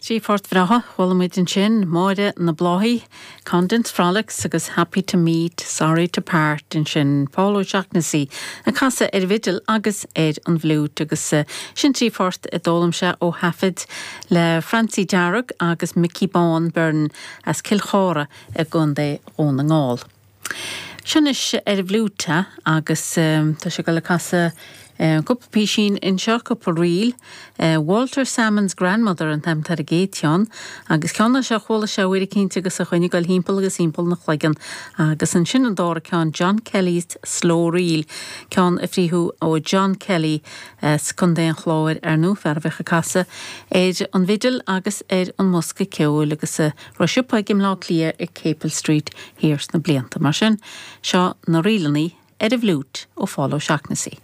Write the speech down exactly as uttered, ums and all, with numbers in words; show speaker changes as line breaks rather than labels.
Trí phort bhreátha a chuala muid ansin, Máire na Bláthaí, Condon's Frolics agus Happy to Meet, Sorry to Part ansin, Paul O'Shaughnessy ag casadh ar an bhfidil agus ar an bhfliúit agus sin trí phort a d'fhoghlaim sé ó thaifead le Francie Dearg agus Mickey Bán Byrne as Cill Chártha i gContae Dhún na nGall. Seo anois ar an bhfliúit agus tá sé ag dul ag casadh cúpla písín anseo cúpla ríl. Walter Salmon's Grandmother an t-ainm atá ar an gcéad cheann, agus ceann é seo chuala sé uair eicínt agus a choinne dul timpeall agus timpeall ina chloigeann, agus ansin an dara ceann John Kelly's Slow Reel, ceann a frítheadh ó John Kelly as Contae an Chláir ar ndóigh, fear a bheadh ag casadh ar an bhfidil agus ar an mbosca ceoil agus a raibh siopa aige i mBleá Cliath ar Capel Street thiar sna blianta. Mar sin, seo na ríleanna ar an bhfliúit ó Phól O'Shaughnessy.